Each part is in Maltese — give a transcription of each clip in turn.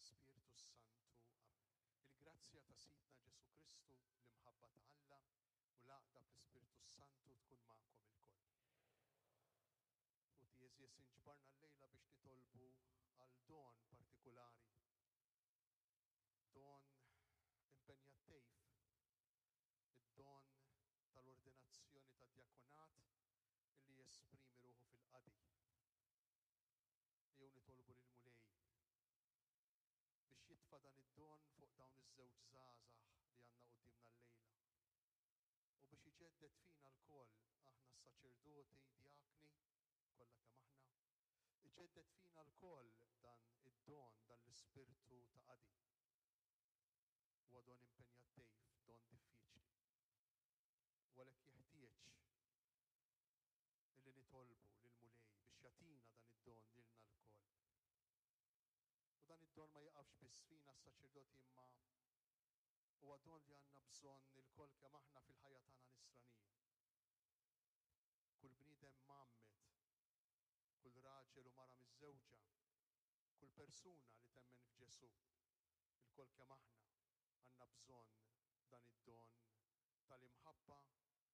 tal-Ispirtu s-Santu. Amen. Il-grazzja ta' Sidna Ġesù Kristu, l-imħabba ta' Alla, u l-għaqda fl-Ispirtu s-Santu tkun magħkom ilkoll. Ħuti għeżież, inġbarna llejla biex nitolbu għal don partikulari, don impenjattiv, id-don tal-ordinazzjoni tad-djakonat li jesprimi ruħu fil-qadi. Ejjew nitolbu lill-Mulej biex jitfa' dan id-don fuq dawn iż-żewġ żgħażagħ li għandna quddiemna llejla u biex iġedded fina lkoll, aħna s-saċerdoti, djakni, kollha kemm aħna, iġedded fina lkoll dan id-don, dan l-ispirtu ta' qadi. Huwa don impenjattiv, don diffiċli. U għalhekk jeħtieġ illi nitolbu lill-Mulej biex jagħtina dan id-don lilna lkoll. U dan id-don ma jiqafx biss fina s-saċerdoti imma huwa don li għandna bżonn ilkoll kemm aħna fil-ħajja tagħna nisranija. Kull bniedem mgħammed, kull raġel u mara miżżewġa, kull persuna li temmen f'Ġesù, ilkoll kemm aħna għandna bżonn dan id-don tal-imħabba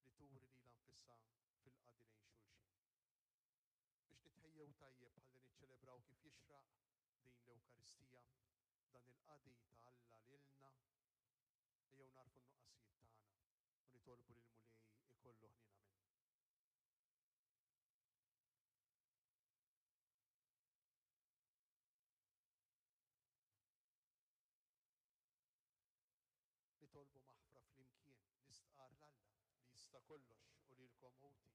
li turi lilha nfisha fil-qadi lejn xulxin. Biex nitħejjew tajjeb ħalli niċċelebraw kif jixraq din l-Ewkaristija, dan il-qadi ta' Alla lilna, ejjew nagħrfu n-nuqqasijiet tagħna u nitolbu lill-Mulej ikollu ħniena minna. Nitolbu maħfra flimkien, nistqarr 'l Alla, li jista' kollox, u lilkom ħuti,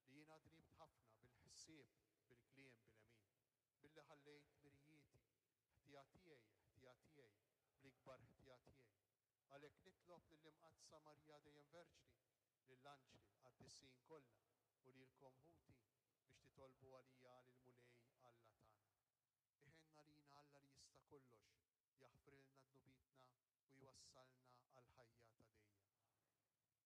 li jiena dnibt ħafna bil-ħsieb, bil-kliem, bil-għemil, billi ħallejt dmirijieti, ħtija tiegħi, ħtija tiegħi, bl-ikbar ħtija tiegħi. Għalhekk nitlob lill-Imqaddsa Marija dejjem Verġni, lill-anġli, l-qaddisin kollha, u lilkom ħuti, biex titolbu għalija lill-Mulej Alla tagħna. Iħenn għalina Alla li jista' kollox, jaħfrilna dnubietna u jwassalna għall-ħajja ta' dejjem.